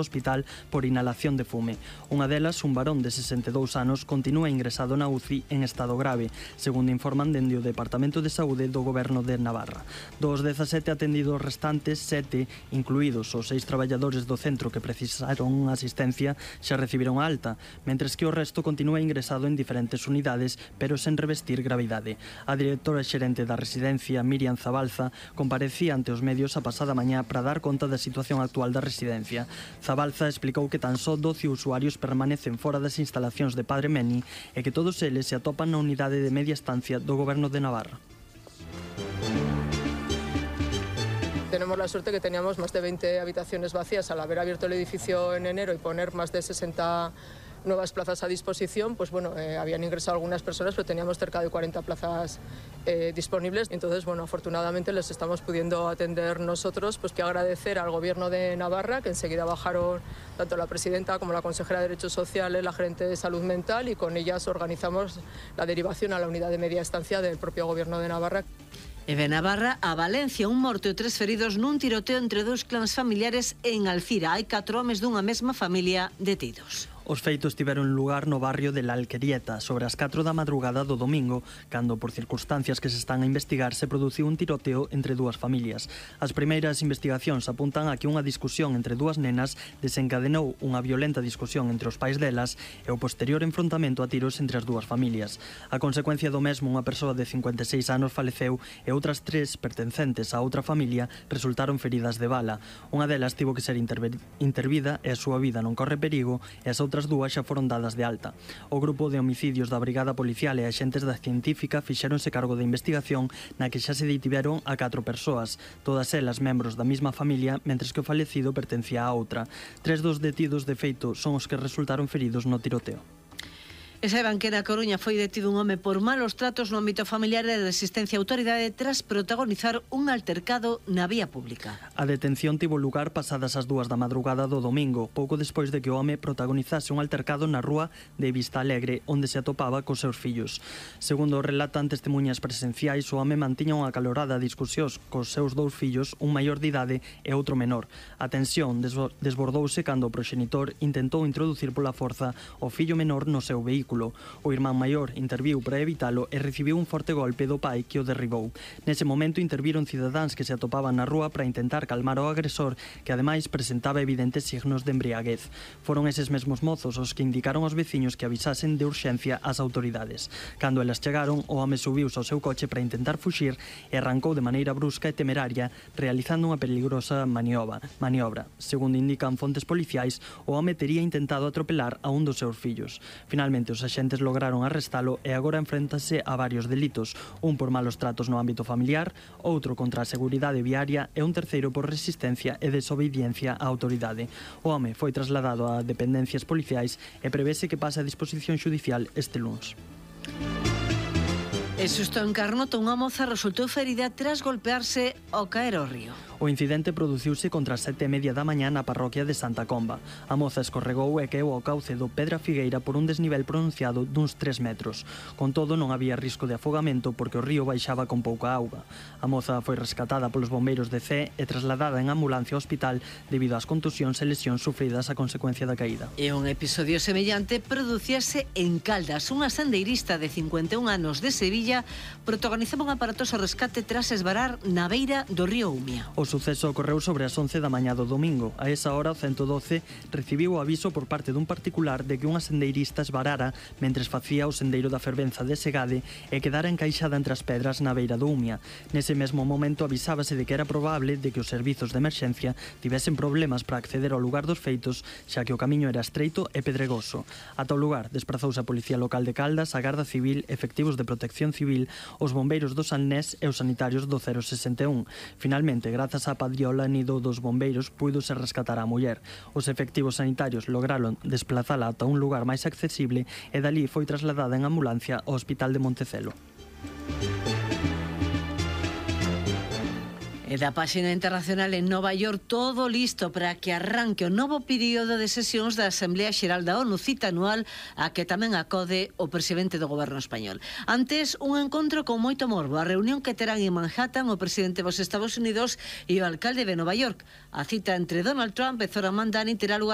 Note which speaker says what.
Speaker 1: hospital por inhalación de fume. Unha delas, un varón de 62 anos, continúa ingresado na UCI en estado grave, segundo informan dende o Departamento de Saúde do Goberno de Navarra. Dos 17 atendidos restantes, 7, incluídos os 6 traballadores do centro que precisaron asistencia, xa recibiron a alta, mentres que o resto continúa ingresado en diferentes unidades, pero sen revestir gravidade. A directora xerente da residencia, Miriam Zabalza, comparecía ante os medios a pasada mañá para dar conta da situación actual da residencia. Zabalza explicou que tan só 12 usuarios permanecen fora das instalacións de Padre Meni e que todos eles se atopan na unidade de media estancia do Goberno de Navarra.
Speaker 2: Tenemos la suerte que teníamos más de 20 habitaciones vacías al haber abierto el edificio en enero y poner más de 60 nuevas plazas a disposición. Pues bueno, habían ingresado algunas personas, pero teníamos cerca de 40 plazas disponibles. Entonces, bueno, afortunadamente les estamos pudiendo atender nosotros. Pues que agradecer al Gobierno de Navarra, que enseguida bajaron tanto la presidenta como la consejera de Derechos Sociales, la gerente de Salud Mental, y con ellas organizamos la derivación a la unidad de media estancia del propio Gobierno de Navarra.
Speaker 3: E de Navarra a Valencia, un morto e 3 feridos nun tiroteo entre 2 clans familiares en Alcira. Hai 4 homes dunha mesma familia detidos.
Speaker 1: Os feitos tiveron lugar no barrio de La Alquerieta sobre as 4 da madrugada do domingo, cando por circunstancias que se están a investigar se produciu un tiroteo entre dúas familias. As primeiras investigacións apuntan a que unha discusión entre dúas nenas desencadenou unha violenta discusión entre os pais delas e o posterior enfrontamento a tiros entre as dúas familias. A consecuencia do mesmo, unha persoa de 56 anos faleceu e outras 3 pertencentes a outra familia resultaron feridas de bala. Unha delas tivo que ser intervida e a súa vida non corre perigo e as outras dúas xa foron dadas de alta. O grupo de homicidios da Brigada Policial e axentes da Científica fixéronse cargo da investigación na que xa se detiveron a 4 persoas, todas elas membros da mesma familia, mentres que o falecido pertencía a outra. 3 dos detidos de feito son os que resultaron feridos no tiroteo.
Speaker 3: E saiban que na Coruña foi detido un home por malos tratos no ámbito familiar e resistencia á autoridade tras protagonizar un altercado na vía pública.
Speaker 1: A detención tivo lugar pasadas as 2 da madrugada do domingo, pouco despois de que o home protagonizase un altercado na rúa de Vista Alegre, onde se atopaba cos seus fillos. Segundo relatan testemunhas presenciais, o home mantiña unha acalorada discusión cos seus 2 fillos, un maior de idade e outro menor. A tensión desbordouse cando o proxenitor intentou introducir pola forza o fillo menor no seu vehículo. O irmán maior interviu para evitalo e recibiu un forte golpe do pai que o derribou. Nese momento interviron cidadáns que se atopaban na rúa para intentar calmar o agresor, que ademais presentaba evidentes signos de embriaguez. Foron eses mesmos mozos os que indicaron aos veciños que avisasen de urxencia ás autoridades. Cando elas chegaron, o home subiuse ao seu coche para intentar fuxir e arrancou de maneira brusca e temeraria, realizando unha peligrosa maniobra. Segundo indican fontes policiais, o home tería intentado atropelar a un dos seus fillos. Finalmente, os axentes lograron arrestalo e agora enfréntase a varios delitos, un por malos tratos no ámbito familiar, outro contra a seguridade viaria e un terceiro por resistencia e desobediencia á autoridade. O home foi trasladado a dependencias policiais e prevese que pase a disposición xudicial este luns.
Speaker 3: E susto en Carnota, unha moza resultou ferida tras golpearse ao caer ao río.
Speaker 1: O incidente produciuse contra as 7:30 da mañá na parroquia de Santa Comba. A moza escorregou e caeu ao cauce do Pedra Figueira por un desnivel pronunciado duns 3 metros. Con todo, non había risco de afogamento porque o río baixaba con pouca auga. A moza foi rescatada polos bombeiros de Cee e trasladada en ambulancia ao hospital debido ás contusións e lesións sufridas a consecuencia da caída.
Speaker 3: E un episodio semellante producíase en Caldas. Unha sendeirista de 51 anos de Sevilla protagonizaba un aparatoso rescate tras esvarar na beira do río Umia.
Speaker 1: O suceso ocorreu sobre as 11 da mañá do domingo. A esa hora, o 112 recibiu o aviso por parte dun particular de que unha sendeirista esvarara mentres facía o sendeiro da fervenza de Segade e quedara encaixada entre as pedras na beira do Umia. Nese mesmo momento avisábase de que era probable de que os servizos de emerxencia tivesen problemas para acceder ao lugar dos feitos, xa que o camiño era estreito e pedregoso. Ata o lugar desprazouse a Policía Local de Caldas, a Garda Civil, efectivos de Protección Civil, os bombeiros do Salnés e os sanitarios do 061. Finalmente, grazas á padriola nido dos bombeiros, puidose rescatar a muller. Os efectivos sanitarios lograron desplazala ata un lugar máis accesible e dali foi trasladada en ambulancia ao Hospital de Montecelo.
Speaker 3: E da páxina internacional en Nova York, todo listo para que arranque o novo período de sesións da Asamblea Xeral da ONU, cita anual a que tamén acode o presidente do goberno español. Antes, un encontro con moito morbo, a reunión que terán en Manhattan o presidente dos Estados Unidos e o alcalde de Nova York. A cita entre Donald Trump e Zoran Mandani terá lugar